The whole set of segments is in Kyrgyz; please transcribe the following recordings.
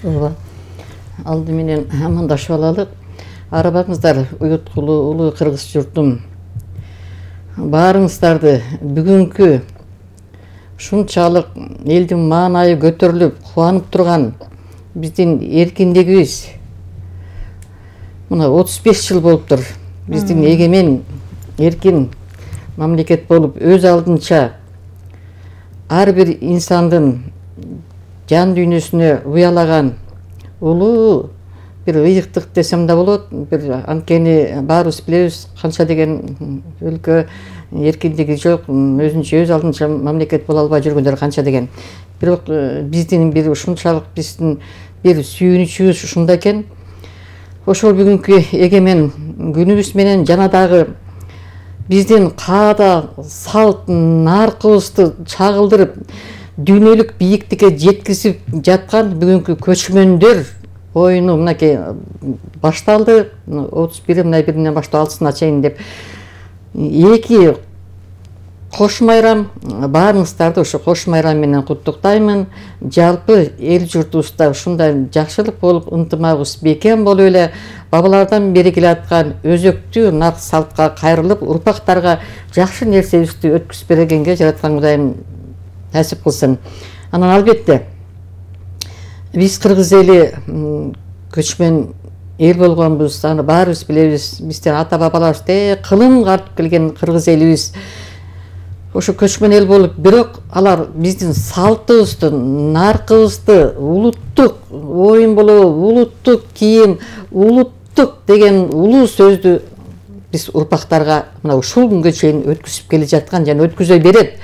ооба. Алды менен амандашып алалы. Арабаңыздар, уюткулуу улуу кыргыз журтум. Баарыңыздарды бүгүнкү ушунчалык элдин маанайы көтөрүлүп, кубанып турган биздин эркиндигибиз мына 35 жыл болуптур. Биздин эгемен, эркин мамлекет болуп, өз алдынча ар бир инсандын жан дүйнөсүнө уялаган улуу бир ыйыктык десем да болот. Бир анткени баарыбыз билебиз канча деген өлкө эркиндиги жок, өзүнчө өз алдынча мамлекет боло албай жүргөндөр канча деген. Бирок биздин бир ушунчалык биздин бир сүйүнүчүбүз ушунда экен. Ошол бүгүнкү эгемен күнүбүз менен жана дагы биздин каада салт наркыбызды чагылдырып дүйнөлүк бийиктикке жеткизип жаткан бүгүнкү көчмөндөр оюну мынакей башталды. 31 мына биринен баштап 6-сына чейин деп эки кош майрам. Баарыңыздарды ошо кош майрам менен куттуктаймын. Жалпы эл журтубузда ушундай жакшылык болуп, ынтымагыбыз бекем болуп эле бабалардан бери келаткан өзөктүү нарк салтка кайрылып, урпактарга жакшы нерсебизди өткүзүп бергенге жараткан Кудайым насип кылсын. Анан албетте биз кыргыз эли көчмөн эл болгонбуз. Аны баарыбыз билебиз. Биздин ата бабаларыбыз кылым картып келген кыргыз элибиз. Ошо көчмөн эл болуп, бирок алар биздин салтыбызды, наркыбызды, улуттук оюн болобу, улуттук кийим, улуттук деген улуу сөздү биз урпактарга мына ушул күнгө чейин өткүзүп келе жаткан жана өткүзө берет.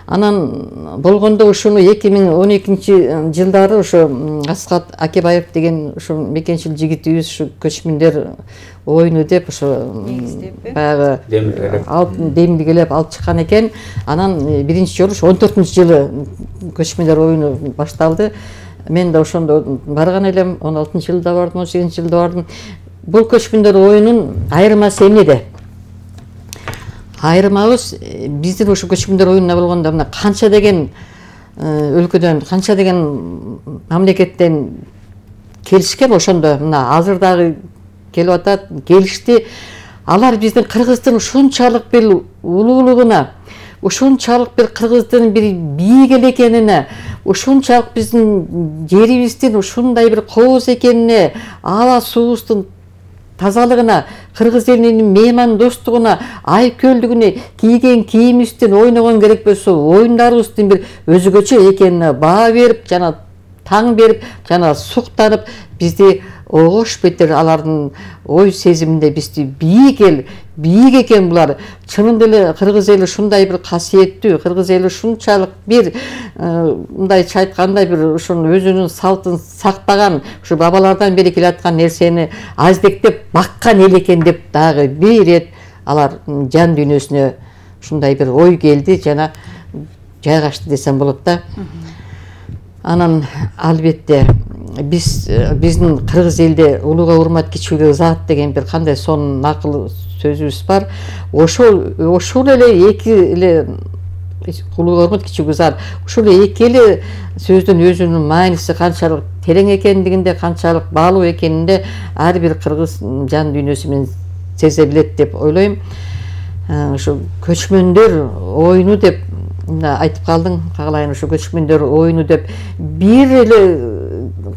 Анан болгондо ушуну 2012 жылдары ошо Аскат Акебаев деген ушу мекенчил жигитибиз ушу көчмөндөр оюну деп ошо баягы демилгелеп алып чыккан экен. Анан биринчи жолу 14-жылы көчмөндөр оюну башталды. Мен да ошондо барган элем, 16-жылда бардым, 18-жылда бардым. Бул көчмөндөр оюнун айырмасы эмнеде? Айырмабыз биздин ошо көчмөндөр оюнуна болгондо мына канча деген өлкөдөн, канча деген мамлекеттен келишкен. Ошондо мына азыр дагы келип атат, келишти. Алар биздин кыргыздын ушунчалык бир улуулугуна, ушунчалык бир кыргыздын бир бийик эл экенине, ушунчалык биздин жерибиздин ушундай бир кооз экенине, аба суубуздун тазалыгына, кыргыз элинин меймандостугуна, айкөлдүгүнө, кийген кийимибиздин, ойногон керек болсо оюндарыбыздын бир өзгөчө экенине баа берип, жана таң берип, жана суктанып, бизди огош бетер алардын ой сезиминде бизди бийик эл, бийик экен булар. Чынында эле кыргыз эли ушундай бир касиеттүү, кыргыз эли ушунчалык бир мындайча айтканда бир ушуну өзүнүн салтын сактаган, ушу бабалардан бери келаткан нерсени аздектеп баккан эл экен деп дагы бир ирет алар жан дүйнөсүнө ушундай бир ой келди жана жайгашты десем болот да. Анан албетте биздин кыргыз элде улууга урмат, кичүүгө ызаат деген бир кандай сонун акыл сөзүбүз бар. Ошол эле эки эле улууга урмат, кичүүгө ызаат. Ушул эки эле сөздүн өзүнүн мааниси канчалык терең экендигинде, канчалык баалуу экенинде ар бир кыргыз жан дүйнөсү менен сезе билет деп ойлойм. Ушу көчмөндөр оюну деп айтып калдың, кагалайын. Ушу көчмөндөр оюну деп бир эле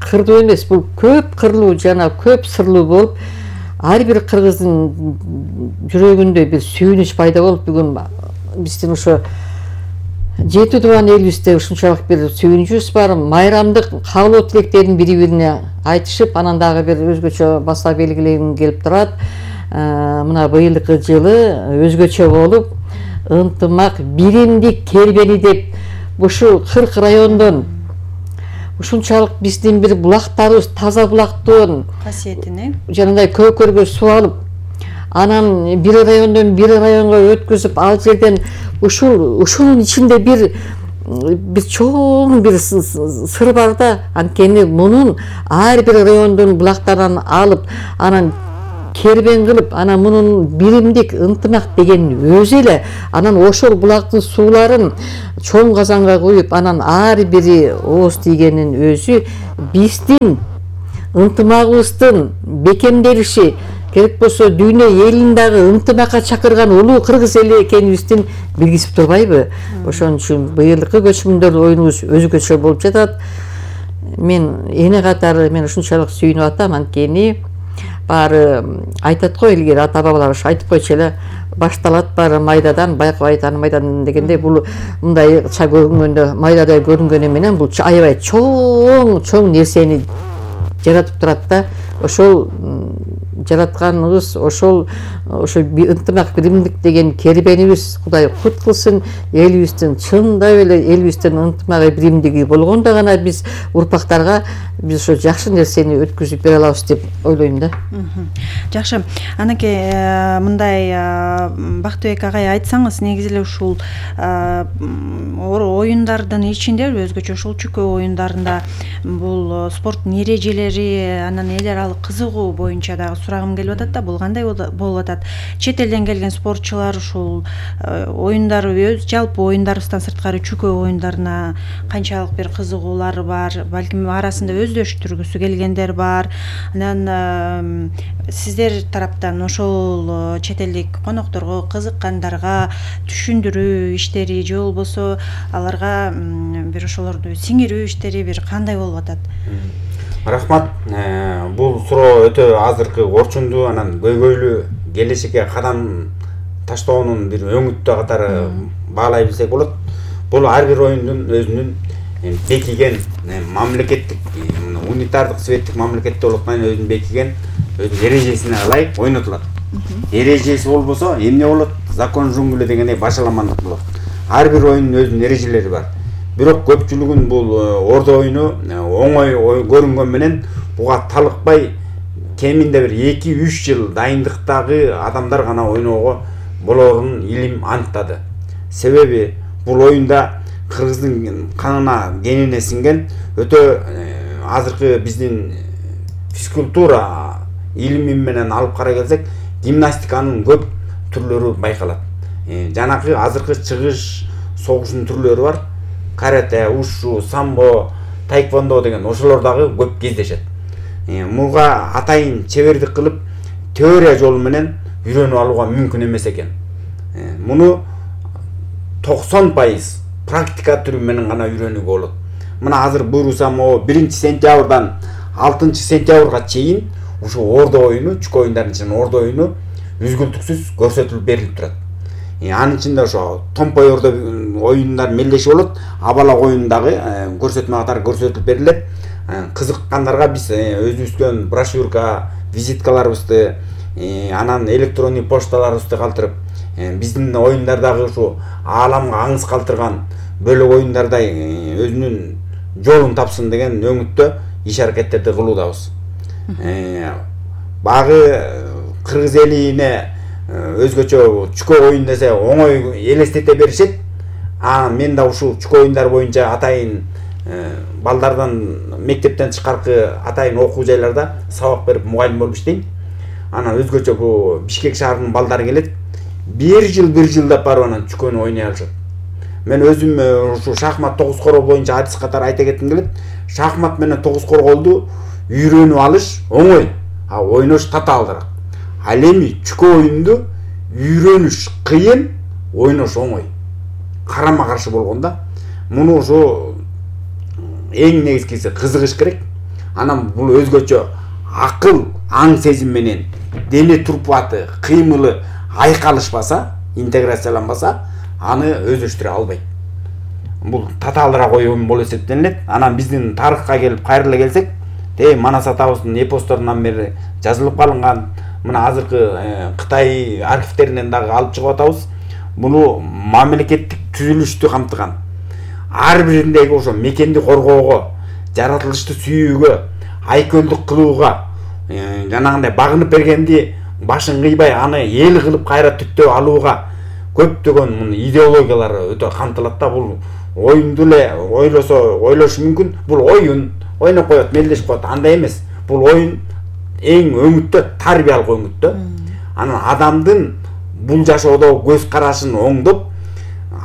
кырдуу эмес, бул көп кырлуу жана көп сырлуу болуп, ар бир кыргыздын жүрөгүндө бир сүйүнүч пайда болуп, бүгүн биздин ошо жети тууган элибизде ушунчалык бир сүйүнүчүбүз бар. Майрамдык каалоо тилектерин бири-бирине айтышып, анан дагы бир өзгөчө баса белгилегим келип турат. Мына быйылкы жылы өзгөчө болуп, ынтымак, биримдик кербени деп ушу 40 райондон ушунчалык биздин бир булактарыбыз таза булактын касиетине жанагындай көкөргө суу алып, анан бир райондон бир районго өткүзүп, ал жерден ушунун ичинде бир чоң бир сыр бар да. Анткени мунун ар бир райондун булактарынан алып, анан кербен кылып, анан мунун биримдик ынтымак деген өзү эле, анан ошол булактын сууларын чоң казанга куюп, анан ар бири ооз тийгенин өзү биздин ынтымагыбыздын бекемделиши, керек болсо дүйнө элин дагы ынтымакка чакырган улуу кыргыз эли экенибиздин белгиси турбайбы? Ошон үчүн быйылкы көчмөндөр оюнубуз өзгөчө болуп жатат. Мен эне катары мен ушунчалык сүйүнүп атам, анткени баары айтат го, илгери ата бабалар айтып койчу эле, башталат баары майдадан, байкабай таанымайдан дегенде, бул мындай ча көрүнгөндө, майдадай көрүнгөнү менен бул аябай чоң нерсени жаратып турат да. Ошол жаратканыбыз, ошо ынтымак биримдик деген кербенибиз Кудай кут кылсын. Элибиздин чындап эле элибиздин ынтымагы биримдиги болгондо гана биз урпактарга биз ошо жакшы нерсени өткүзүп бере алабыз деп ойлойм да. Жакшы. Анакей мындай Бактыбек агай айтсаңыз, негизи эле ушул оюндардын ичинде өзгөчө ушул чүкө оюндарында бул спорттун эрежелери, анан эл аралык кызыгуу боюнча дагы сурагым келип атат да, бул кандай болуп атат? Чет элден келген спортчулар ушул оюндар, өз жалпы оюндарыбыздан сырткары чүкө оюндарына канчалык бир кызыгуулары бар, балким арасында өздөштүргүсү келгендер бар. Анан сиздер тараптан ошол чет элдик конокторго, кызыккандарга түшүндүрүү иштери же болбосо аларга бир ошолорду сиңирүү иштери бир кандай болуп атат? Рахмат. Бул суроо өтө азыркы орчундуу, анан көйгөйлүү, келечекке кадам таштоонун бир өңүттүү катары баалай билсек болот. Бул ар бир оюндун өзүнүн бекиген мамлекеттик, унитардык светтик мамлекетте болгондон өзүнүн бекиген өзүнүн эрежесине ылайык ойнотулат. Эрежеси болбосо эмне болот? Закон джунгле дегендей башаламандык болот. Ар бир оюндун өзүнүн эрежелери бар. Бирок көпчүлүгүн бул ордо оюну оңой көрүнгөн менен буга талыкпай кеминде бир 2-3 жыл дайындыктагы адамдар гана ойноого болорун илим аныктады. Себеби бул оюнда кыргыздын канына, генине сиңген өтө азыркы биздин физкультура илими менен алып карай келсек, гимнастиканын көп түрлөрү байкалат. Жанакы азыркы чыгыш согуштун түрлөрү бар. Карате, ушу, самбо, таэквондо деген ошолор дагы көп кездешет. Муга атайын чебердик кылып, теория жолу менен үйрөнүп алууга мүмкүн эмес экен. Муну 90% практика түрү менен гана үйрөнүүгө болот. Мына азыр буйрусам, 1-сентябрдан 6-сентябрга чейин ушу ордо оюну, чүкө оюндардын ичинен ордо оюну үзгүлтүксүз көрсөтүлүп берилип турат. Анын ичинде ошо томпой ордо оюндар мелдеши болот, абалак оюндагы көрсөтмө катары көрсөтүлүп берилет. Кызыккандарга биз өзүбүздөн брошюрка, визиткаларыбызды, анан электрондук почталарыбызды калтырып, биздин оюндардагы ушу ааламга аңыз калтырган бөлөк оюндардай өзүнүн жолун тапсын деген өңүттө иш аракеттерди кылуудабыз. Багы кыргыз элине өзгөчө чүкө оюн десе оңой элестете беришет. Мен да ушул чүкө оюндар боюнча атайын балдардан мектептен тышкаркы атайын окуу жайларда сабак берип мугалим болуп иштейм. Анан өзгөчө бул Бишкек шаарынын балдары келет. Bir жылдап барып анан чүкөнү ойной алышат. Мен өзүм ушу шахмат 9 короо боюнча адис катары айта кетким келет. Шахмат менен 9 корголду үйрөнүп алыш оңой, ойнош татаалдыраак. Ал эми чүкө оюнду үйрөнүш кыйын, ойнош оңой. Карама каршы болгондо муну ошо эң негизгиси кызыгыш керек. Анан бул өзгөчө акыл, аң сезим менен дене турпаты, кыймылы айкалышпаса, интеграцияланбаса, аны өздөштүрө албайт. Бул татаалдыраак оюн болуп эсептелет. Анан биздин тарыхка келип кайрыла келсек, Манас атабыздын эпосторунан бери жазылып калынган, мына азыркы Кытай архивтеринен дагы алып чыгып атабыз. Буну мамлекеттик түзүлүштү камтыган. Ар бириндеги ошо мекенди коргоого, жаратылышты сүйүүгө, айкөлдүк кылууга, жанагындай багынып бергенди башын кыйбай аны эл кылып кайра түттөп алууга көптөгөн муну идеологиялары өтө камтылат да. Бул оюнду эле ойлошу мүмкүн. Бул оюн, ойноп коет, мелдешип коет, андай эмес. Бул оюн эң өңүттө тарбиялык өңүттө. Анан адамдын бул жашоодо көз карашын оңдоп,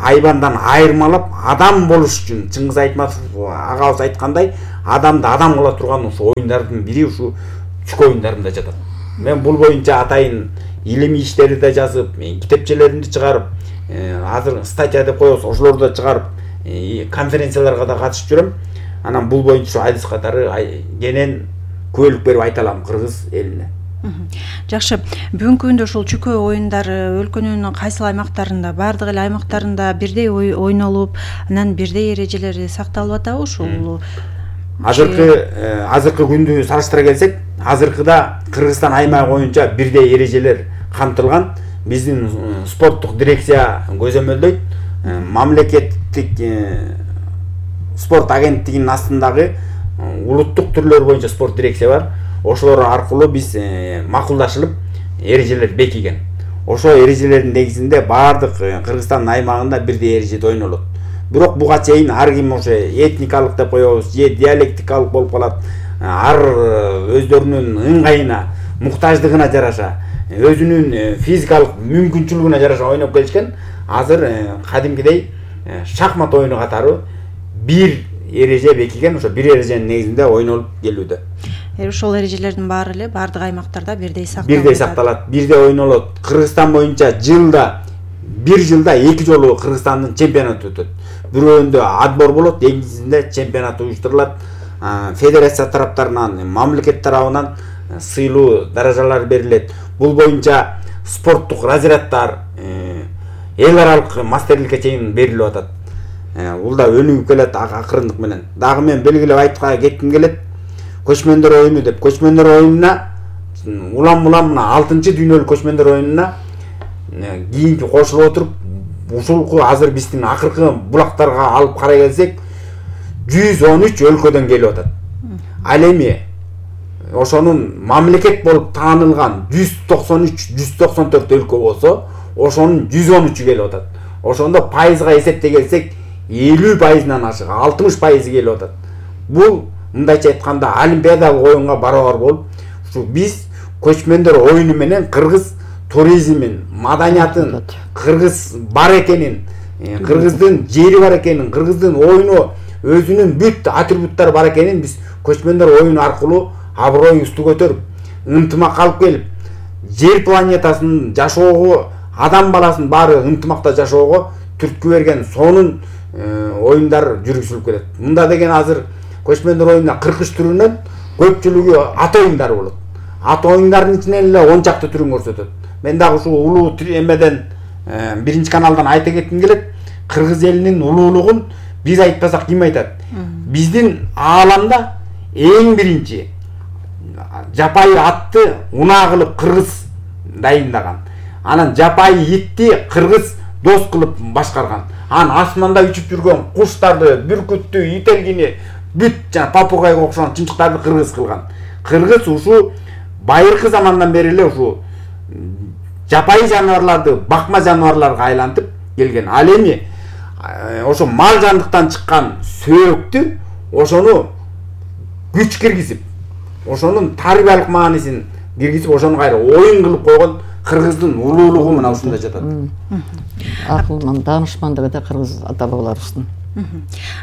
айбандан айырмалап адам болуш үчүн Чыңгыз Айтматов агабыз айткандай, адамды адам кыла турган ушу оюндардын бири ушу чүкө оюндарында жатат. Мен бул боюнча атайын илимий иштерди да жазып, китепчелеримди чыгарып, азыр статья деп коебуз, ошолорду да чыгарып, конференцияларга да катышып жүрөм. Анан бул боюнча адис катары кенен күбөлүк берип айта алам кыргыз элине. Жакшы. Бүгүнкү күндө ушул чүкө оюндары өлкөнүн кайсыл аймактарында, бардык эле аймактарында бирдей ойнолуп, анан бирдей эрежелери сакталып атабы ушул? Азыркы күндү салыштыра келсек, азыркыда Кыргызстан аймагы боюнча бирдей эрежелер камтылган. Биздин спорттук дирекция көзөмөлдөйт. Мамлекеттик спорт агенттигинин астындагы улуттук түрлөр боюнча спорт дирекция бар. Ошолор аркылуу биз макулдашылып эрежелер бекиген. Ошо эрежелердин негизинде бардык Кыргызстан аймагында бирдей эрежеде ойнолот. Бирок буга чейин ар ким ошо этникалык деп коебуз, же диалектикалык болуп калат. Ар өздөрүнүн ыңгайына, муктаждыгына жараша, өзүнүн физикалык мүмкүнчүлүгүнө жараша ойноп келишкен. Азыр кадимкидей шахмат оюну катары бир эреже бекиген, ошо бир эреженин негизинде ойнолуп келүүдө. Ошол эрежелердин баары эле бардык аймактарда бирдей сакталат. Бирдей сакталат, бирдей ойнолот. Кыргызстан боюнча бир жылда 2 жолу Кыргызстандын чемпионаты өтөт. Бирөөндө отбор болот, экинчисинде чемпионат уюштурулат. Федерация тараптарынан, мамлекет тарабынан сыйлуу даражалар берилет. Бул боюнча спорттук разряддар эл аралык мастерликке чейин берилип атат. Бул да өнүгүп келет акырындык менен. Дагы мен белгилеп айткыга кетким келет. Көчмөндөр оюну деп, көчмөндөр оюнуна улам-улам мына 6-дүйнөлүк көчмөндөр оюнуна кийинки кошулуп отуруп, ушулку азыр биздин акыркы булактарга алып карай келсек, 113 өлкөдөн келип атат. Ал эми ошонун мамлекет болуп таанылган 193-194 өлкө болсо, ошонун 113 келип атат. Ошондо пайызга эсептей келсек, 50%-нан ашык, 60% келип атат. Бул мындайча айтканда олимпиадалык оюнга барабар болуп, ушу биз көчмөндөр оюну менен кыргыз туризмин, маданиятын, кыргыз бар экенин, кыргыздын жери бар экенин, кыргыздын оюну өзүнүн бүт атрибуттары бар экенин биз көчмөндөр оюну аркылуу аброюбузду көтөрүп, ынтымак алып келип, жер планетасын жашоого, адам баласын баары ынтымакта жашоого түрткү берген сонун оюндар жүргүзүлүп келет. Мында деген азыр көчмөндөр оюнуна 43 түрүнөн көпчүлүгү ат оюндары болот. Ат оюндарынын ичинен эле 10 чакты түрүн көрсөтөт. Мен дагы ушул улуу эмеден биринчи каналдан айта кетким келет. Кыргыз элинин улуулугун биз айтпасак ким айтат? Биздин ааламда эң биринчи жапайы атты унаа кылып кыргыз дайындаган. Анан жапайы итти кыргыз дос кылып башкарган. Анан асманда үчүп жүргөн куштарды, бүркүттү, ителгини, бүт жана папугайга окшогон чымчыктарды кыргыз кылган. Кыргыз ушу байыркы замандан бери эле ушу жапайы жаныбарларды бакма жаныбарларга айлантып келген. Ал эми ошо мал жандыктан чыккан сөөктү ошону күч киргизип, ошонун тарбиялык маанисин киргизип, ошону кайра оюн кылып койгон кыргыздын улуулугу мына ушунда жатат. Акылман, даанышмандыгы да кыргыз ата бабаларыбыздын.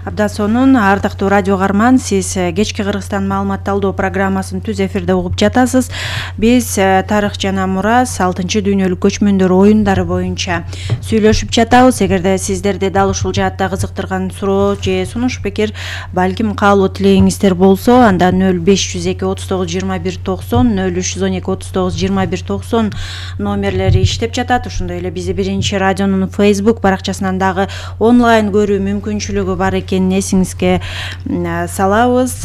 Абдан сонун, ардактуу радио каарман, сиз кечки Кыргызстан маалымат талдоо программасын түз эфирде угуп жатасыз. Биз тарых жана мурас 6-дүйнөлүк көчмөндөр оюндары боюнча сүйлөшүп жатабыз. Эгерде сиздерди дал ушул жаатта кызыктырган суроо же сунуш пикир, балким каалоо тилегиңиздер болсо, анда 0502 39 21 90, 0312 39 21 90 номерлери иштеп жатат. Ошондой эле бизи биринчи радионун Facebook баракчасынан дагы онлайн көрүү мүмкүнчүлүгү бар экенин эсиңизге салабыз.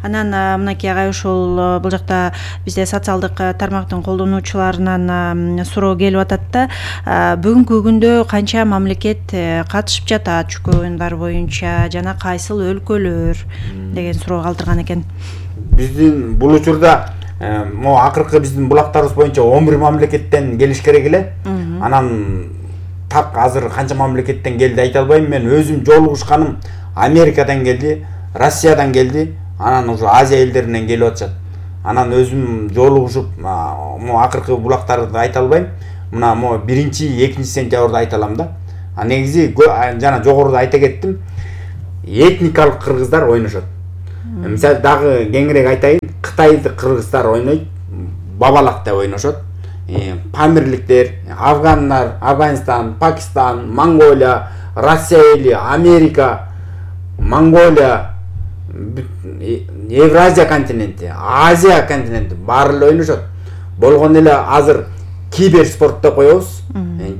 Анан мынакей агай ушул бул жакта бизде социалдык тармактын колдонуучуларынан суроо келип атат да. Бүгүнкү күндө канча мамлекет катышып жатат чүкө оюндар боюнча жана кайсыл өлкөлөр деген суроо калтырган экен. Биздин бул учурда могу акыркы биздин булактарыбыз боюнча 11 мамлекеттен келиш керек эле. Анан так азыр канча мамлекеттен келди айта албайм. Мен өзүм жолугушканым Америкадан келди, Россиядан келди, анан уже Азия элдеринен келип атышат. анан өзүм жолугушуп могу акыркы булактарды айта албайм. Мына могу 1-2 сентябрда айта алам да. Негизи жана жогоруда айта кеттим. Этникалык кыргыздар ойношот. Мисалы дагы кеңирээк айтайын, Кытайдык кыргыздар ойнойт, бабалак деп ойношот. Памирликтер, афгандар, Афганистан, Пакистан, Монголия, Россия, Америка, Монголия, Евразия континенти, Азия континенти баары эле ойношот. Болгон эле азыр киберспорт деп коебуз.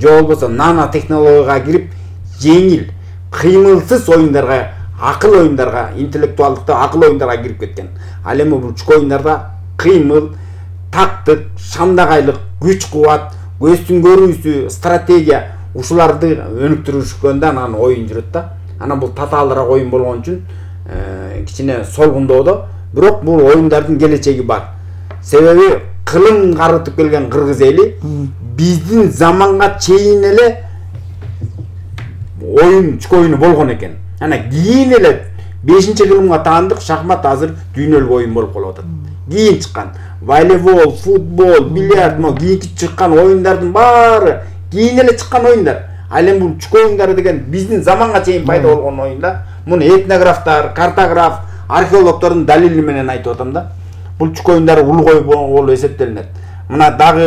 Же болбосо нано технологияга кирип, жеңил, кыймылсыз оюндарга, акыл оюндарга, интеллектуалдыкта акыл оюндарга кирип кеткен. Ал эми бул чүкө оюндарда кыймыл, тактык, шамдагайлык, күч кубат, көздүн көрүүсү, стратегия ушуларды өнүктүрүшкөндө анан оюн жүрөт да. Анан бул татаалыраак оюн болгон үчүн кичине солгундоодо, бирок бул оюндардын келечеги бар. Себеби кылың карытып келген кыргыз эли биздин заманга чейин эле оюн чүкө оюну болгон экен. Ана кийин эле 5-кылымга таандык шахмат азыр дүйнөлүк оюн болуп калып атат. Кийин чыккан волейбол, футбол, бильярд, кийинки чыккан оюндардын баары кийин эле чыккан оюндар. Ал эми бул чүкө оюндары деген биздин заманга чейин пайда болгон оюндар. Муну этнографтар, картограф, археологдордун далили менен айтып атам да. Бул чүкө оюндары улгой болуп эсептелинет. Мына дагы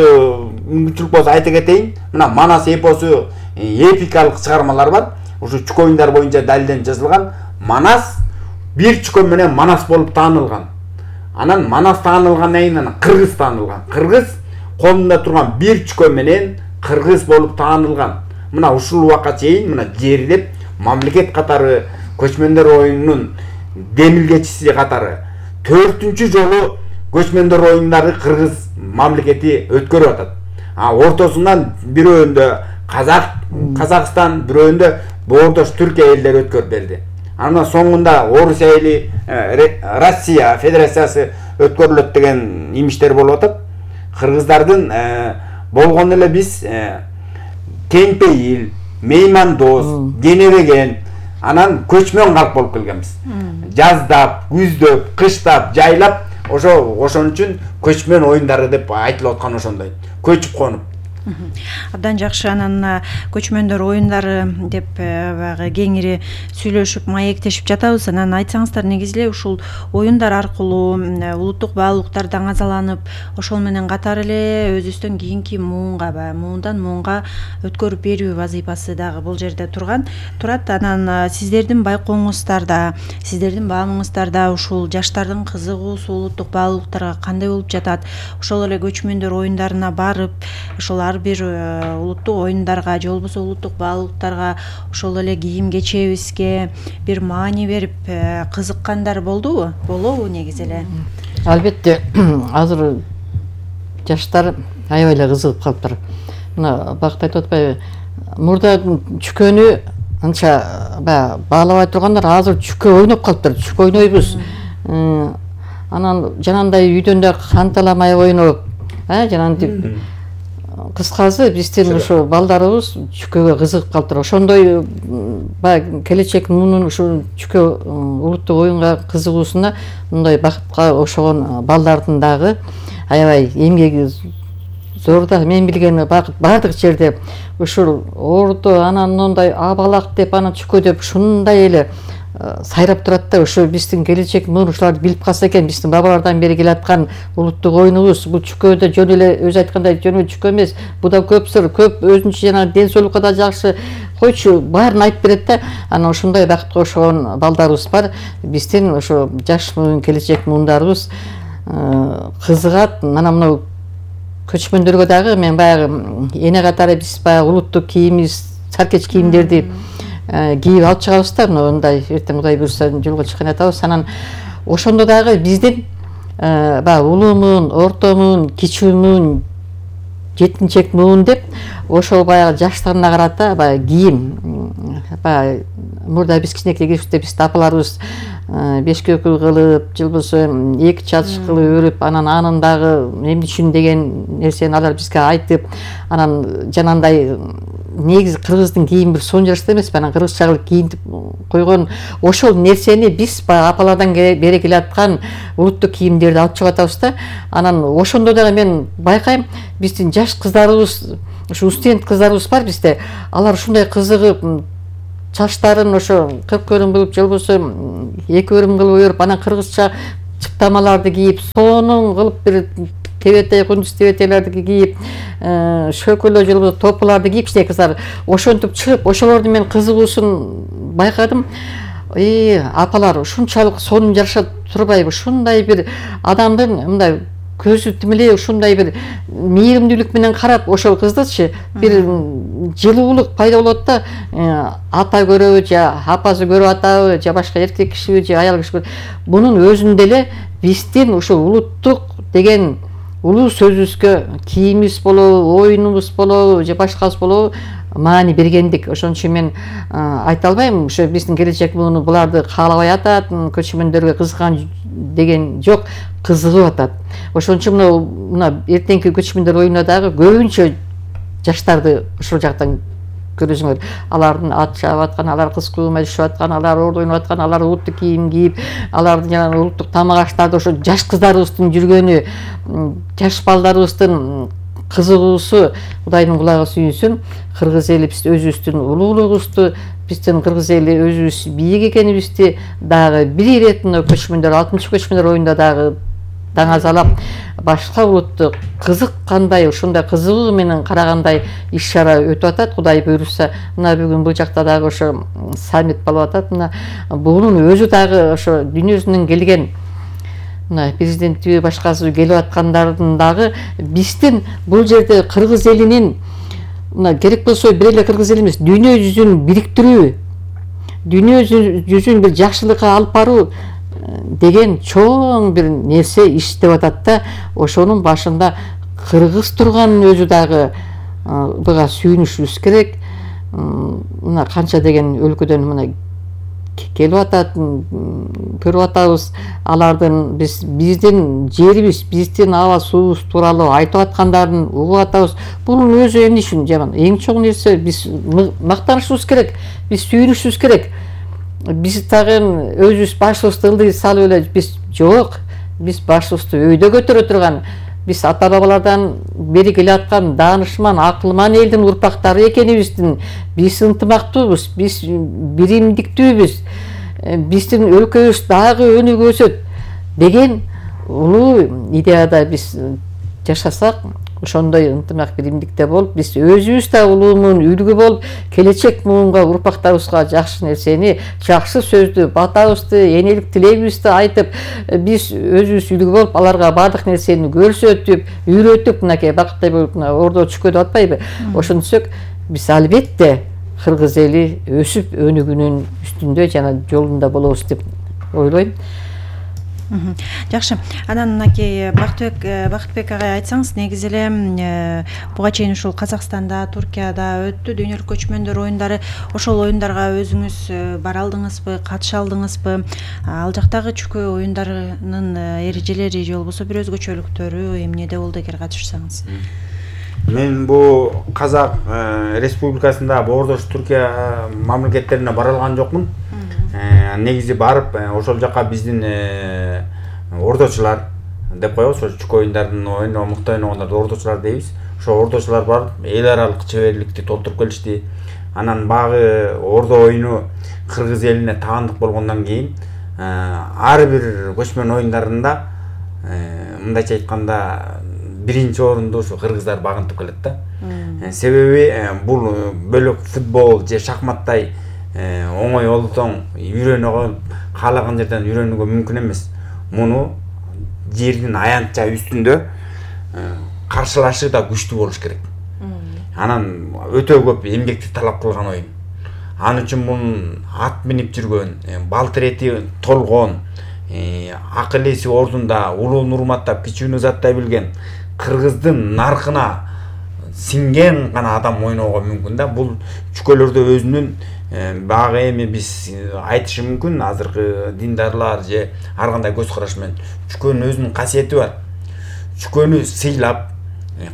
мүмкүнчүлүк болсо айта кетейин. Мына Манас эпосу эпикалык чыгармалар бар. Ушу чүкө оюндар боюнча далилден жазылган. Манас бир чүкө менен Манас болуп таанылган. Анан Манас таанылгандан кийин анан Кыргыз таанылган. Кыргыз колунда турган бир чүкө менен Кыргыз болуп таанылган. Мына ушул убакка чейин мына жерлеп мамлекет катары көчмөндөр оюнунун демилгечиси катары 4-чү жолу көчмөндөр оюндары Кыргыз мамлекети өткөрүп атат. Ортосунан бирөөндө Казакстан, бирөөндө боордош Түркия элдери өткөрүп берди. Анан соңунда Орусия эли, Россия Федерациясы өткөрүлөт деген имиштер болуп атат. Кыргыздардын болгон эле биз кеңпейил, меймандос, денебеген, анан көчмөн калп болуп келгенбиз. Жаздап, күздөп, кыштап, жайлап, ошон үчүн көчмөн оюндары деп айтылып аткан ошондой. Көчүп конуп. Абдан жакшы. Анан көчмөндөр оюндары деп баягы кеңири сүйлөшүп, маектешип жатабыз. Анан айтсаңыздар, негизи эле ушул оюндар аркылуу улуттук баалуулуктар даңазаланып, ошол менен катар эле өзүбүздөн кийинки муундан муунга өткөрүп берүү вазыйфасы дагы бул жерде турат. Анан сиздердин байкооңуздарда, сиздердин баамыңыздарда ушул жаштардын кызыгуусу улуттук баалуулуктарга кандай болуп жатат? Ошол эле көчмөндөр оюндарына барып, ошол ар бир улуттук оюндарга же болбосо улуттук баалуулуктарга ошол эле кийим кечебизге бир маани берип кызыккандар болобу негизи эле? Албетте, азыр жаштар аябай эле кызыгып калыптыр. Мына бакыт айтып атпайбы? Мурда чүкөнү анча баалабай тургандар азыр чүкө ойноп калыптыр. Чүкө ойнойбуз. Анан жанагындай үйдөн да канталамай ойноп, жанагынтип кыскасы биздин ушу балдарыбыз чүкөгө кызыгып калыптыр. Ошондой келечек мунун ушу чүкө улуттук оюнга кызыгуусуна мындай бакытка ошогон балдардын дагы аябай эмгеги зор да. Мен билгени баардык жерде ушул ордо, анан мындай абалак деп, анан чүкө деп ушундай эле сайрап турат да. Ушу биздин келечек муну ушуларды билип калса экен, биздин бабалардан бери келаткан улуттук оюнубуз. Бул чүкөдө жөн эле өзү айткандай жөн эле чүкө эмес. Буда көп сыр, көп өзүнчө жана ден соолукка да жакшы. Койчу баарын айтып берет да. Анан ошондой бакытка ошогон балдарыбыз бар. Биздин ошо жаш муун, келечек муундарыбыз кызыгат. Анан мына көчмөндөргө дагы мен баягы эне катары биз баягы улуттук кийимибиз, саркеч кийимдерди кийип алып чыгабыз да. Мындай эртең Кудай буйрса жолго чыккан атабыз. Анан ошондо дагы биздин улуу муун, орто муун, кичүү муун, жетинчек муун деп ошол баягы жаштарына карата кийим. Мурда биз кичинекей кезибизде биз апаларыбыз бешкөкү кылып, же болбосо эки чалчык кылып өрүп, анан анын дагы эмне үчүн деген нерсени алар бизге айтып, анан жанагындай негизи кыргыздын кийими бир сонун жарашта эмес, анан кыргызча кийинтип койгон ошол нерсени биз баягы апалардан бери келаткан улуттук кийимдерди алып чыгып атабыз да. Анан ошондо дагы мен байкайм, биздин жаш кыздарыбыз, ушу студент кыздарыбыз бар бизде, алар ушундай кызыгып чачтарын ошо кып өрүм кылып же болбосо эки өрүм кылып өйрөп, анан кыргызча чыптамаларды кийип, сонун кылып бир тебетей, кундуз тебетейлерди кийип, шөкөлө же болбосо топуларды кийип кичинекей кыздар ошентип чыгып, ошолордун мен кызыгуусун байкадым. Апалар ушунчалык сонун жараша турбайбы? Ушундай бир адамдын мындай көзү тимилей ушундай бир мээримдүүлүк менен карап ошол кыздычы бир жылуулук пайда болот да. Ата көрөбү же апасы көрүп атабы же башка эркек кишиби же аял кишиби, бунун өзүндө эле биздин ушул улуттук деген улуу сөзүбүзгө кийимибиз болобу, оюнубуз болобу же башкасы болобу маани бергендик. Ошон үчүн мен айта албайм, ошо биздин келечек буларды каалабай атат, көчмөндөргө кызыган деген жок, кызыгып атат. Ошон үчүн мына эртеңки көчмөндөр оюнуна дагы көбүнчө жаштарды ошол жактан көрөсүңөр. Алардын ат чабып аткан, алар кыз куума түшүп аткан, алар ордо ойноп аткан, алар улуттук кийим кийип, алардын жана улуттук тамак аштарды ошо жаш кыздарыбыздын жүргөнү, жаш балдарыбыздын кызыгуусу Кудайдын кулагы сүйүнсүн. Кыргыз эли биз өзүбүздүн улуулугубузду, биздин кыргыз эли өзүбүз бийик экенибизди дагы бир ирет көчмөндөр 60 көчмөндөр оюнда дагы даңазалап, башка улутту кызыккандай, ушундай кызыгуу менен карагандай иш-чара өтүп атат. Кудай буйруса, мына бүгүн бул жакта дагы ошо саммит болуп атат. Мына бунун өзү дагы ошо дүйнө жүзүнөн келген мына президентиби башкасы келип аткандардын дагы биздин бул жерде кыргыз элинин мына керек болсо бир эле кыргыз эли эмес, дүйнө жүзүн бириктирүү, дүйнө жүзүн бир жакшылыкка алып баруу деген чоң бир нерсе иштеп атат да. Ошонун башында кыргыз турганын өзү дагы буга сүйүнүшүбүз керек. Мына канча деген өлкөдөн мына келип атат, көрүп атабыз алардын биздин жерибиз, биздин аба суубуз тууралуу айтып аткандарын угуп атабыз. Бунун өзү эмне үчүн жаман? Эң чоң нерсе биз мактанышыбыз керек, биз сүйүнүшүбүз керек. Биз дагы өзүбүз башыбызды ылдый салып эле биз жок, биз башыбызды өйдө көтөрө турган, биз ата бабалардан бери келаткан даанышман, акылман элдин урпактары экенибиздин, биз ынтымактуубуз, биз биримдиктүүбүз, биздин өлкөбүз дагы өнүгүп өсөт деген улуу идеяда биз жашасак, ошондой ынтымак биримдикте болуп, биз өзүбүз да улуумун үлгү болуп, келечек муунга урпактарыбызга жакшы нерсени, жакшы сөздү, батабызды, энелик тилегибизди айтып, биз өзүбүз үлгү болуп, аларга баардык нерсени көрсөтүп, үйрөтүп, мынакей бакыттай болуп ордо чүкөдүп атпайбы? Ошентсек, биз албетте кыргыз эли өсүп өнүгүүнүн үстүндө жана жолунда болобуз деп ойлойм. Жакшы. Анан мынакей Бакытбек агай айтсаңыз, негизи эле буга чейин ушул Казакстанда, Туркияда өттү дүйнөлүк көчмөндөр оюндары. Ошол оюндарга өзүңүз бара алдыңызбы, катыша алдыңызбы? Ал жактагы чүкө оюндарынын эрежелери же болбосо бир өзгөчөлүктөрү эмнеде болду эгер катышсаңыз? Мен бу Казак Республикасында Боордош Түркия мамлекеттерине бара алган жокмун. Негизи барып ошол жака биздин ордочулар деп коебуз, ошо чүкө оюндардын мыкты ойногондорду ордочулар дейбиз. Ошо ордочулар барып эл аралык чеберликти толтуруп келишти. Анан багы ордо оюну кыргыз элине таандык болгондон кийин ар бир көчмөн оюндарында мындайча айтканда биринчи орунду ушу кыргыздар багынтып келет да. Себеби бул бөлөк футбол же шахматтай оңой олтоң үйрөнөгө, каалаган жерден үйрөнүүгө мүмкүн эмес. Муну жердин аянтча үстүндө каршылашы да күчтүү болуш керек. Анан өтө көп эмгекти талап кылган оюн. Ал үчүн мунун ат минип жүргөн, балтырети толгон, акыл эси ордунда, улуун урматтап, кичүүнү заттай билген, кыргыздын наркына сиңген гана адам ойноого мүмкүн да. Бул чүкөлөрдө өзүнүн багы эми биз айтышы мүмкүн, азыркы диндарлар же ар кандай көз караш менен чүкөнүн өзүнүн касиети бар. Чүкөнү сыйлап,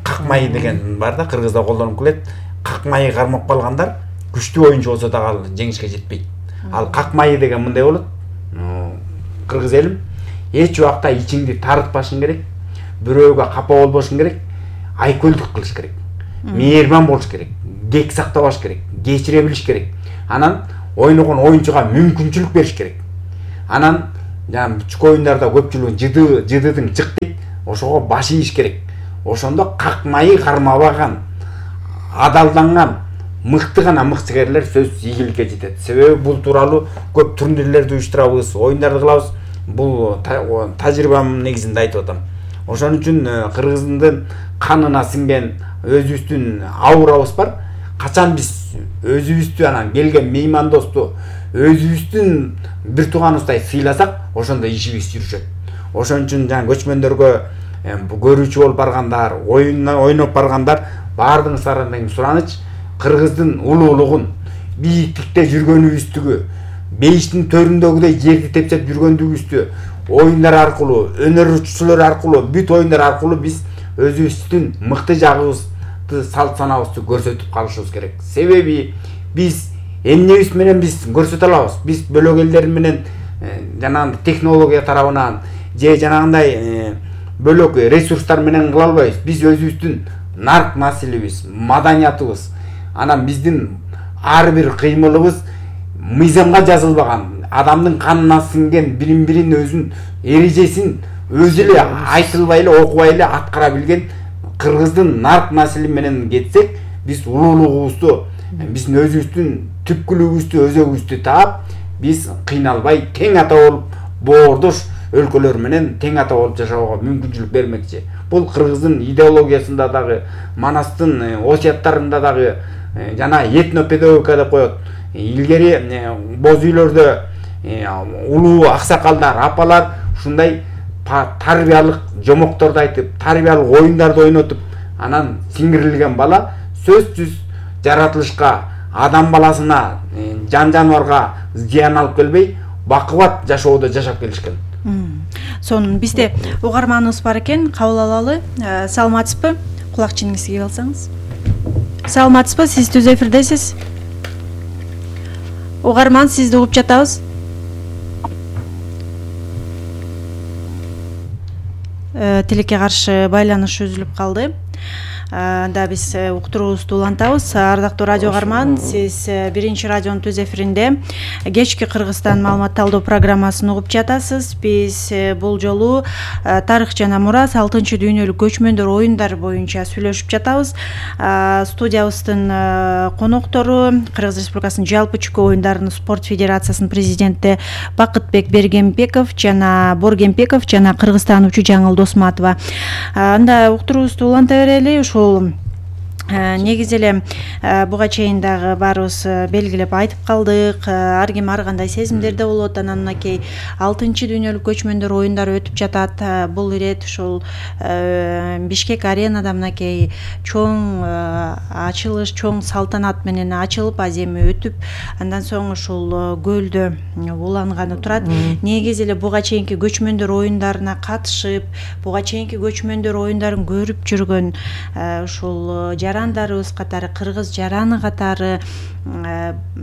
какмай деген бар да, кыргызда колдонуп келет. как майы кармап калгандар күчтүү оюнчу болсо дагы жеңишке жетпейт. Ал как майы деген мындай болот. Кыргыз элим эч убакта ичиңди тарытпашың керек, бирөөгө капа болбошуң керек, айкөлдүк кылыш керек. Мээрбан болуш керек, кек сактабаш керек, кечире билиш керек. Анан ойногон оюнчуга мүмкүнчүлүк бериш керек. Анан жана чүкө оюндарда көпчүлүгү жыдыдың жык дейт, ошого баш ийиш керек. Ошондо как майы кармабаган, адалданган, мыкты гана мыкчыгерлер сөз ийгиликке жетет. Себеби бул тууралуу көп турнирлерди уюштурабыз, оюндарды кылабыз. Бул тажрыйбам негизинде айтып атам. Ошон үчүн Кыргыздын канына сиңген өзүбүздүн аурабыз бар. Качан биз өзүбүздү анан келген меймандосту өзүбүздүн бир тууганыбыздай сыйласак, ошондо ишибиз жүрүшөт. Ошон үчүн жана көчмөндөргө көрүүчү болуп баргандар, ойноп баргандар баардыгыңыздардан деген сураныч Кыргыздын улуулугун, бийиктикте жүргөнүбүздүгү, бейиштин төрүндөгүдөй жерди тепсеп жүргөндүгүбүздү оюндар аркылуу, өнөрчүлөр аркылуу, бүт оюндар аркылуу биз өзүбүздүн мыкты жагыбызды, салт санабызды көрсөтүп калышыбыз керек. Себеби биз эмнебиз менен биз көрсөтө алабыз? Биз бөлөк элдер менен жанагындай технология тарабынан же жанагындай бөлөк ресурстар менен кыла албайбыз. Биз өзүбүздүн нарк населибиз, маданиятыбыз, анан биздин ар бир кыймылыбыз мыйзамга жазылбаган, адамдын канына сиңген бирин өзүнүн эрежесин өзү эле айтылбай эле, окубай эле аткара билген Кыргыздын нарк насели менен кетсек, биз улуулугубузду, биздин өзүбүздүн түпкүлүгүбүздү, өзөгүбүздү таап, биз кыйналбай тең ата болуп, боордош өлкөлөр менен тең ата болуп жашоого мүмкүнчүлүк бермекчи. Бул Кыргыздын идеологиясында дагы, Манастын осуяттарында дагы, жана этнопедагогика деп коет. Илгери боз үйлөрдө улуу аксакалдар, апалар ушундай тарбиялык жомокторду айтып, тарбиялык оюндарды ойнотуп, анан сиңирилген бала сөзсүз жаратылышка, адам баласына, жан-жаныбарга зыян алып келбей, бакубат жашоодо жашап келишкен. Сонун бизде угарманыбыз бар экен, кабыл алалы. Саламатсызбы? Кулакчыңызды кийип алсаңыз. Саламатсызбы? Сиз түз эфирдесиз. Угарман, сизди угуп жатабыз. Тилекке каршы байланыш үзүлүп калды. Да биз уктуруубузду улантабыз. Ардактуу радио угарман, сиз биринчи радионун түз эфиринде кечки Кыргызстан маалымат талдоо программасын угуп жатасыз. Биз бул жолу тарых жана мурас 6-дүйнөлүк көчмөндөр оюндар боюнча сүйлөшүп жатабыз. Студиябыздын коноктору Кыргыз Республикасынын жалпы чүкө оюндарынын спорт федерациясынын президенти Бакытбек Бергенбеков жана Боргенбеков жана кыргызтануучу Жаңыл Досматова. Анда уктуруубузду уланта берели. Ушул негизи эле буга чейин дагы баарыбыз белгилеп айтып калдык. Ар ким ар кандай сезимдерде болот. Анан мынакей 6-дүйнөлүк көчмөндөр оюндары өтүп жатат. Бул ирет ушул Бишкек аренада мынакей чоң ачылыш, чоң салтанат менен ачылып, аземи өтүп, андан соң ушул көлдө уланганы турат. Негизи эле буга чейинки көчмөндөр оюндарына катышып, буга чейинки көчмөндөр оюндарын көрүп жүргөн ушул жарандарыбыз катары, кыргыз жараны катары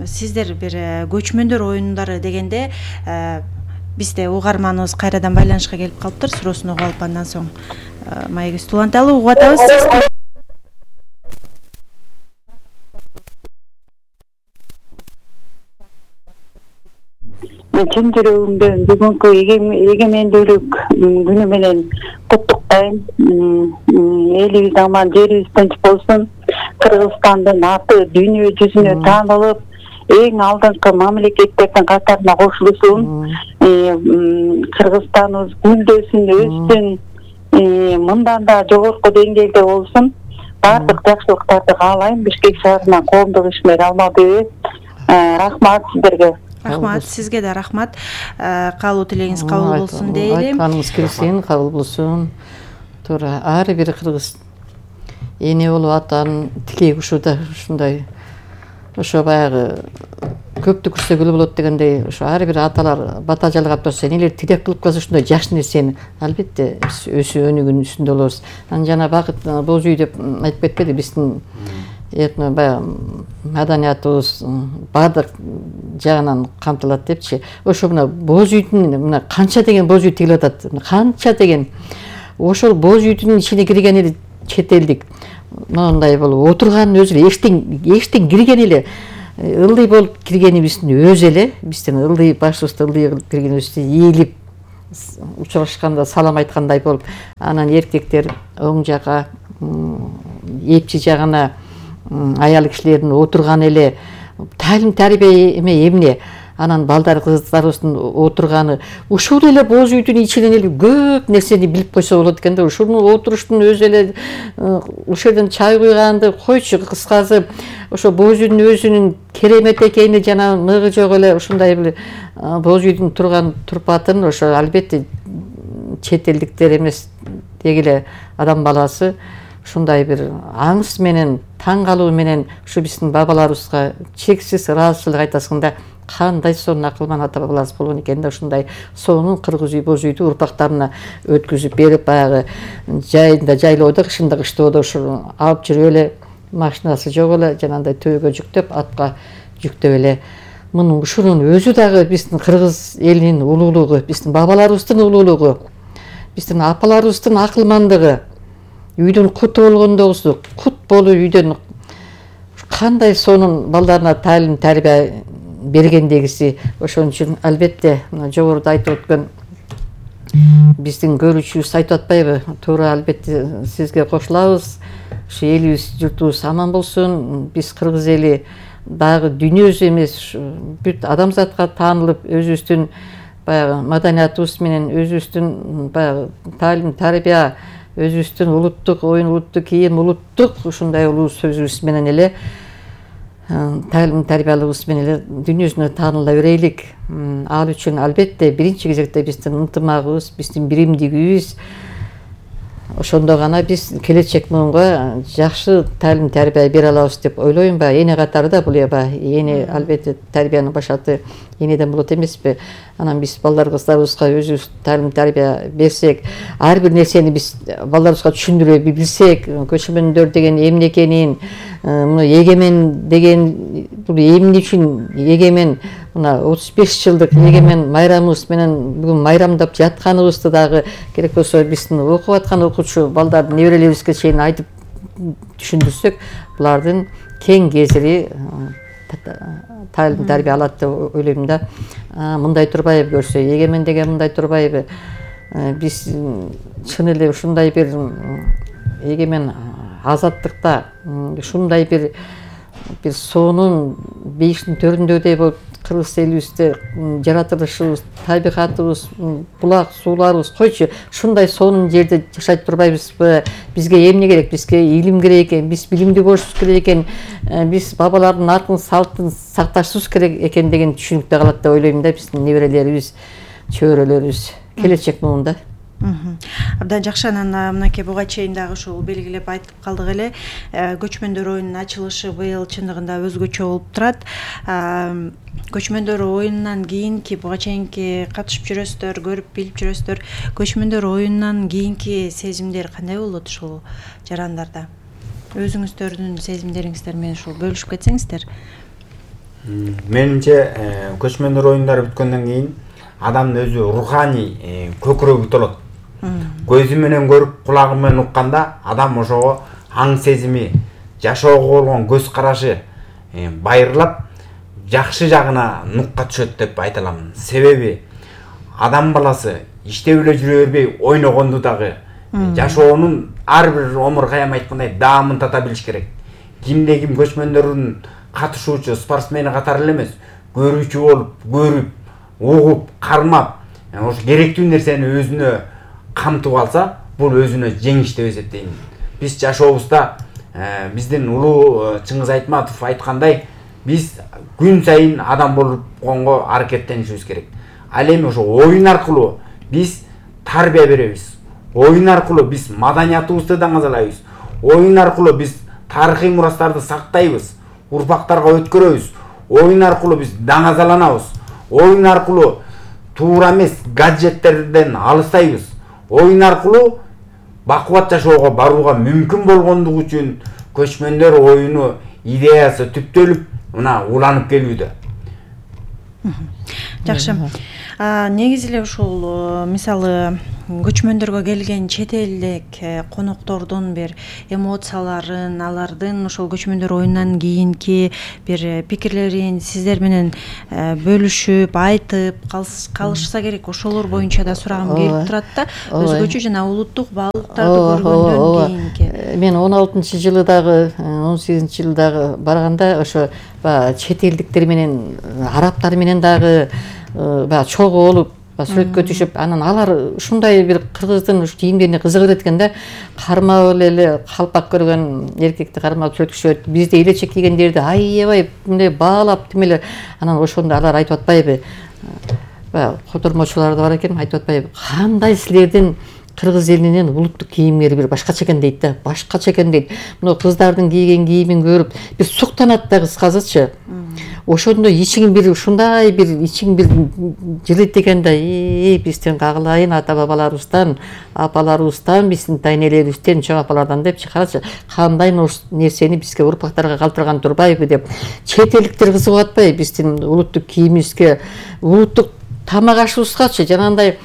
сиздер бир көчмөндөр оюндары дегенде бизде угарманыбыз кайрадан байланышка келип калыптыр. Суроосун угуп алып андан соң маегибизди уланталы. Угуп атабыз. Чын жүрөгүмдөн бүгүнкү эгемендүүлүк күнү менен куттуктайм. Элибиз аман, жерибиз тынч болсун. Кыргызстандын аты дүйнө жүзүнө таанылып, эң алдыңкы мамлекеттердин катарына кошулсын. Кыргызстаныбыз гүлдөсүн, өссүн, мындан да жогорку деңгээлде болсун. Бардык жакшылыктарды каалайм. Бишкек шаарынан коомдук ишмер Алмабек. Рахмат сиздерге. Рахмат, сизге да рахмат. Каалоо тилегиңиз кабыл болсун дейли. Айтканыңыз келсин, кабыл болсун. Туура, ар бир кыргыз эне болуп атан тилеги ушуда ушундай. Ошо баягы көптү көрсөгүлө болот дегендей, ошо ар бир аталар бата жалгап турса, энелер тилек кылып калса ушундай жакшы нерсени албетте биз өсүү өнүгүүнүн үстүндө болобуз. Анан жана Бакыт боз үй деп айтып кетпеди, биздин этно баягы маданиятыбыз баардык жагынан камтылат депчи. Ошо мына боз үйдүн мына канча деген боз үй тигилип атат. Канча деген. Ошол боз үйдүн ичине кирген эле чет элдик. Мындай болуп отурганын өзү эле эштен кирген эле ылдый болуп киргенибиздин өзү эле, биздин ылдый башыбызды ылдый кылып киргенибизди ийилип учурашканда салам айткандай болуп, анан эркектер оң жака, эпчи жагына аял кишилердин отурганы эле талим тарбия эмне, анан балдар кыздарыбыздын отурганы ушул эле боз үйдүн ичинен эле көп нерсени билип койсо болот экен да. Ушунун отуруштун өзү эле ушул жерден чай куйганды койчу, кыскасы ошо боз үйдүн өзүнүн керемет экени жана мыгы жок эле ушундай бир боз үйдүн турган турпатын ошо албетте чет элдиктер эмес деги эле адам баласы ушундай бир аңыз менен, таң калуу менен ушу биздин бабаларыбызга чексиз ыраазычылык айтасыңда, кандай сонун акылман ата бабаларыбыз болгон экен да. Ушундай сонун кыргыз үй, боз үйдү урпактарына өткүзүп берип, баягы жайында жайлоодо, кышында кыштоодо ушу алып жүрүп эле, машинасы жок эле жанагындай төбөгө жүктөп, атка жүктөп эле. Мунун ушунун өзү дагы биздин кыргыз элинин улуулугу, биздин бабаларыбыздын улуулугу, биздин апаларыбыздын акылмандыгы, үйдүн куту болгондогусу, кут болуп үйдөн кандай сонун балдарына талим тарбия бергендегиси. Ошон үчүн албетте жогоруда айтып өткөн биздин көрүүчүбүз айтып атпайбы, туура албетте сизге кошулабыз. Ушу элибиз, журтубуз аман болсун. Биз кыргыз эли дагы дүйнөсү эмес, бүт адамзатка таанылып, өзүбүздүн баягы маданиятыбыз менен, өзүбүздүн баягы талим тарбия, өзүбүздүн улуттук оюн, улуттук кийим, улуттук ушундай улуу сөзүбүз менен эле, талим тарбиялыгыбыз менен эле дүйнөсүнө тааныла берейлик. Ал үчүн албетте биринчи кезекте биздин ынтымагыбыз, биздин биримдигибиз, ошондо гана биз келечек муунга жакшы талим тарбия бере алабыз деп ойлойм. Баягы эне катары да бул эне албетте тарбиянын башаты энеден болот эмеспи? Анан биз балдар кыздарыбызга өзүбүз талим тарбия берсек, ар бир нерсени биз балдарыбызга түшүндүрө билсек, көчмөндөр деген эмне экенин, мына эгемен деген бул эмне үчүн эгемен, мына 35 жылдык эгемен майрамыбыз менен бүгүн майрамдап жатканыбызды дагы керек болсо биздин окуп аткан окуучу балдардын неберелерибизге чейин айтып түшүндүрсөк, булардын кең кесири талим тарбия алат деп ойлойм да. Мындай турбайбы көрсө, эгемен деген мындай турбайбы? Биз чын эле ушундай бир эгемен азаттыкта, ушундай бир сонун бейиштин төрүндөдөй болуп кыргыз элибизде жаратылышыбыз, табигатыбыз, булак сууларыбыз койчу, ушундай сонун жерде жашай турбайбызбы? Бизге эмне керек? Бизге илим керек экен, биз билимдүү болушубуз керек экен, биз бабалардын артын салтын сакташыбыз керек экен деген түшүнүктө калат деп ойлойм да биздин неберелерибиз, чөйрөлөрүбүз келечек муунда. Абдан жакшы. Анан мынакей буга чейин дагы ушул белгилеп айтып калдык эле. Көчмөндөр оюнунун ачылышы быйыл чындыгында өзгөчө болуп турат. Көчмөндөр оюнунан кийинки, буга чейинки катышып жүрөсүздөр, көрүп билип жүрөсүздөр. Көчмөндөр оюнунан кийинки сезимдер кандай болот ушул жарандарда? Өзүңүздөрдүн сезимдериңиздер менен ушул бөлүшүп кетсеңиздер. Менимче көчмөндөр оюндары бүткөндөн кийин адамдын өзү руханий көкүрөгү толот. Көзү менен көрүп, кулагы менен укканда адам ошого аң сезими, жашоого болгон көз карашы байырлап, жакшы жагына нукка түшөт деп айта алам. Себеби адам баласы иштеп эле жүрө бербей ойногонду дагы жашоонун ар бир омургайым айткандай даамын тата билиш керек. Кимде ким көчмөндөрдүн катышуучу спортсмени катары эле эмес, көрүүчү болуп, көрүп, угуп, кармап, ошо керектүү нерсени өзүнө камтып алса, бул өзүнө жеңиш деп эсептейм. Биз жашообузда биздин улуу Чыңгыз Айтматов айткандай, биз күн сайын адам болгонго аракеттенишибиз керек. Ал эми ошо оюн аркылуу биз тарбия беребиз. Оюн аркылуу биз маданиятыбызды даңазалайбыз. Оюн аркылуу биз тарыхый мурастарды сактайбыз, урпактарга өткөрөбүз. Оюн аркылуу биз даңазаланабыз. Оюн аркылуу туура эмес гаджеттерден алыстайбыз. Оюн аркылуу бакубат жашоого барууга мүмкүн болгондугу үчүн көчмөндөр оюну идеясы түптөлүп мына уланып келүүдө. Жакшы. Негизи эле ушул мисалы көчмөндөргө келген чет элдик коноктордун бир эмоцияларын, алардын ошол көчмөндөр оюнунан кийинки бир пикирлерин сиздер менен бөлүшүп, айтып калышса керек. Ошолор боюнча да сурагым келип турат да. Өзгөчө жана улуттук баалыктарды көргөндөн кийинки. Мен 16-жылы дагы, 18-жылы дагы барганда ошо чет элдиктер менен, арабтар менен дагы чогуу болуп сүрөткө түшүп, анан алар ушундай бир кыргыздын кийимдерине кызыгып экен да. Кармап эле калпак көргөн эркекти кармап сүрөткүшөт. Бизде элечек кийгендерди аябай мындай баалап тимеле. Анан ошондо алар айтып атпайбы? Котормочулар да бар экен, айтып атпайбы? Кандай силердин кыргыз элинин улуттук кийимдери бир башкача экен дейт да. Башкача экен дейт. Мына кыздардын кийген кийимин көрүп бир суктанат да кыскасычы. Ошондо ичиң бир ушундай бир ичиң бир жылыйт экен да. Биздин кагылайын ата бабаларыбыздан, апаларыбыздан, биздин тайнелерибизден, чоң апалардан депчи, карачы, кандай нерсени бизге урпактарга калтырган турбайбы деп. Чет элдиктер кызыгып атпайбы биздин улуттук кийимибизге, улуттук тамак ашыбызгачы, жанагындай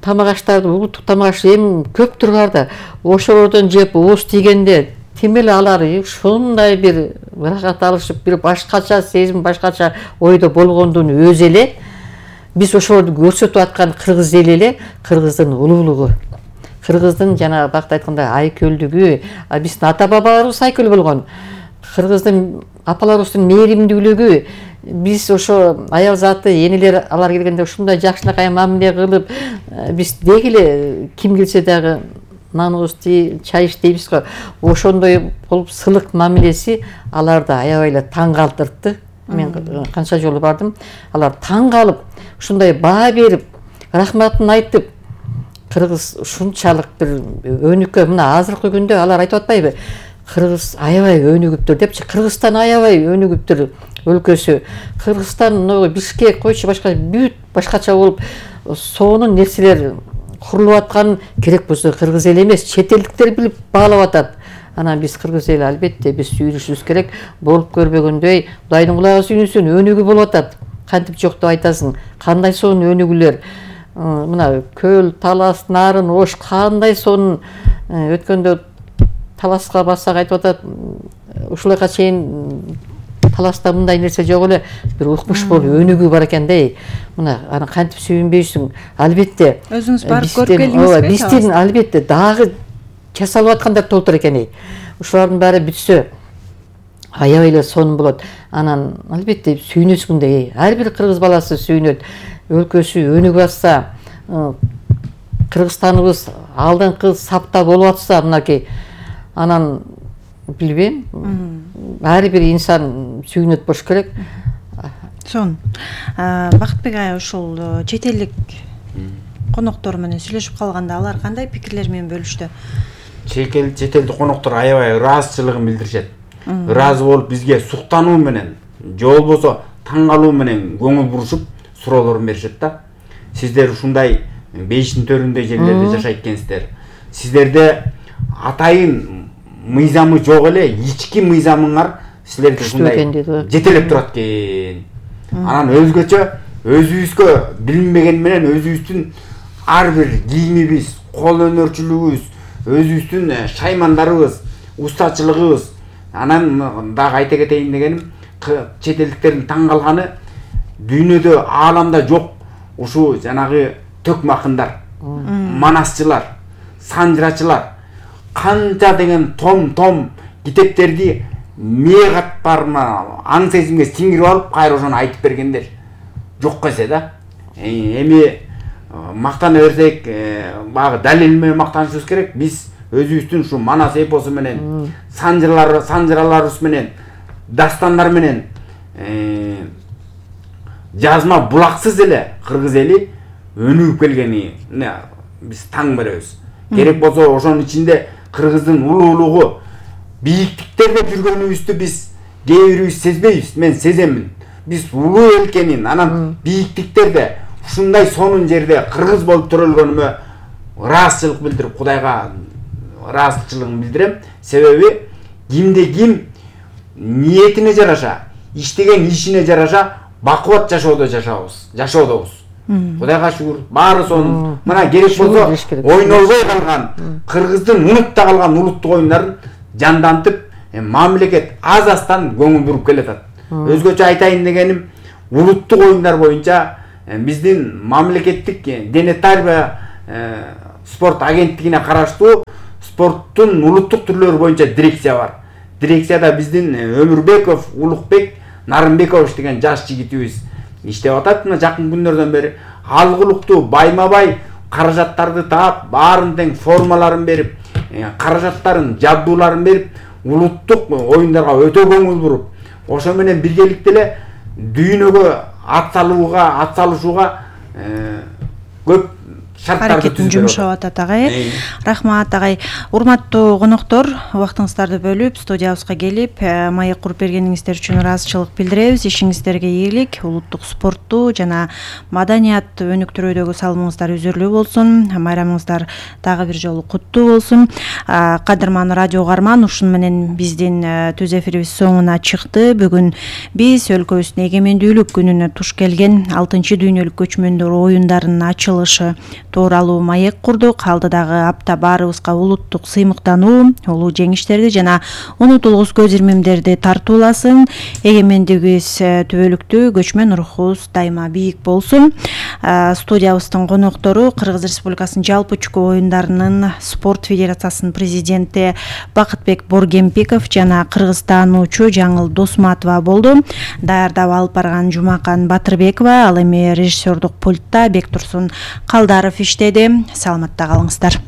тамак аштарды, улуттук тамак аш эми көптүр бар да. Ошолордон жеп ооз тийгенде тимеле алар ушундай бир ырахат алышып, бир башкача сезим, башкача ойдо болгондун өзү эле биз ошолорду көрсөтүп аткан кыргыз эли эле кыргыздын улуулугу. Кыргыздын жана бакта айткандай айкөлдүгү, биздин ата бабаларыбыз айкөл болгон. Кыргыздын апаларыбыздын мээримдүүлүгү, биз ошо аял заты, энелер алар келгенде ушундай жакшынакай мамиле кылып, биз деги эле ким келсе дагы наныбызды, чай ич дейбиз го. Ошондой болуп сылык мамилеси аларды аябай эле таң калтыртты. Мен канча жолу бардым. Алар таң калып, ушундай баа берип, рахматын айтып, кыргыз ушунчалык бир өнүккө, мына азыркы күндө алар айтып атпайбы? Кыргыз аябай өнүгүптүр депчи. Кыргызстан аябай өнүгүптүр өлкөсү. Кыргызстан, Бишкек, койчу башка бүт башкача болуп, сонун нерселер курулуп аткан керек болсо кыргыз эл эмес, чет элдиктер билип баалап атат. Анан биз кыргыз эл албетте биз сүйүнүшүбүз керек. Болуп көрбөгөндөй Кудайдын кулагы сүйүнсүн, өнүгүү болуп атат. Кантип жок деп айтасың? Кандай сонун өнүгүүлөр. Мына Көл, Талас, Нарын, Ош кандай сонун өткөндө Таласка бассак айтып атат. Ушулайга чейин Таласта мындай нерсе жок эле, бир укмуш болуп өнүгүү бар экен дей. Мына аны кантип сүйүнбөйсүң? Албетте. Өзүңүз барып көрүп келдиңизби? Биздин албетте дагы жасалып аткандар толтур экен. Ушулардын баары бүтсө аябай эле сонун болот. Анан албетте сүйүнөсүң да. Ар бир кыргыз баласы сүйүнөт. Өлкөсү өнүгүп атса, Кыргызстаныбыз алдыңкы сапта болуп атса, мынакей анан билбейм. Ар бир инсан сүйүнөт болуш керек. Сон. Бакытбек ай, ушул чет элдик коноктор менен сүйлөшүп калганда алар кандай пикирлер менен бөлүштү? Чет элдик коноктор аябай ыраазычылыгын билдиришет. Ыраазы болуп бизге суктануу менен, же болбосо таң калуу менен көңүл бурушуп суроолорун беришет да. Сиздер ушундай бейиштин төрүндө жерлерде жашайт экенсиздер. Сиздерде атайын мыйзамы жок эле, ички мыйзамыңар силерди ушундай жетелеп турат экен. Анан өзгөчө өзүбүзгө билинбеген менен өзүбүздүн ар бир кийимибиз, кол өнөрчүлүгүбүз, өзүбүздүн шаймандарыбыз, устачылыгыбыз. Анан дагы айта кетейин дегеним, чет элдиктердин таң калганы дүйнөдө, ааламда жок ушу жанагы төкмакындар, манасчылар, санжырачылар канча деген том китептерди мээ катпарына аң сезимге сиңирип алып, кайра ошону айтып бергендер. Жок эсе да. Эми мактана берсек, багы далил менен мактанышыбыз керек. Биз өзүбүздүн ушу манас эпосу менен, санжыраларыбыз менен, дастандар менен жазма булаксыз эле кыргыз эли өнүгүп келгени биз таң беребиз. Керек болсо ошонун ичинде кыргыздын улуулугу, бийиктиктерде жүргөнүбүздү биз кээ бирибиз сезбейбиз. Мен сеземин. Биз улуу эл экенин, анан бийиктиктерде ушундай сонун жерде кыргыз болуп төрөлгөнүмө ыраазычылык билдирип, Кудайга ыраазычылыгымды билдирем. Себеби кимде ким ниетине жараша, иштеген ишине жараша бакубат жашоодобуз. Кудайга шүгүр, баары сонун. Мына керек болсо ойнолбой калган, Кыргыздын унутта калган улуттук оюндарын жандантып, мамлекет аз-аздан көңүл буруп келатат. Өзгөчө айтайын дегеним, улуттук оюндар боюнча биздин мамлекеттик дене тарбия спорт агенттигине караштуу спорттун улуттук түрлөрү боюнча дирекция бар. Дирекцияда биздин Өмүрбеков Улукбек Нарымбекович деген жаш жигитибиз иштеп атат. Мына жакын күндөрдөн бери алгылыктуу байма-бай каражаттарды таап, баарын тең формаларын берип, каражаттарын, жабдууларын берип, улуттук оюндарга өтө көңүл буруп, ошо менен биргеликте эле дүйнөгө атсалышууга көп шарттарды аракетин жумшап атат агай. Рахмат агай. Урматтуу коноктор, убактыңыздарды бөлүп студиябызга келип маек куруп бергениңиздер үчүн ыраазычылык билдиребиз. Ишиңиздерге ийгилик, улуттук спортту жана маданият өнүктүрүүдөгү салымыңыздар үзүрлүү болсун. Майрамыңыздар дагы бир жолу куттуу болсун. Кадырман радио угарман, ушуну менен биздин түз эфирибиз соңуна чыкты. Бүгүн биз өлкөбүздүн эгемендүүлүк күнүнө туш келген 6 дүйнөлүк көчмөндөр оюндарынын ачылышы тууралуу маек курдук. Алдыдагы апта баарыбызга улуттук сыймыктануу, улуу жеңиштерди жана унутулгус көз ирмемдерди тартууласын. Эгемендигибиз түбөлүктүү, көчмөн рухубуз дайыма бийик болсун. Студиябыздын коноктору Кыргыз Республикасынын жалпы чүкө оюндарынын спорт федерациясынын президенти Бакытбек Боргемпиков жана кыргыз таануучу Жаңыл Досматова болду. Даярдап алып барган Жумакан Батырбекова, ал эми режиссердук пультта Бектурсун Калдаров иштеди. Саламатта калыңыздар.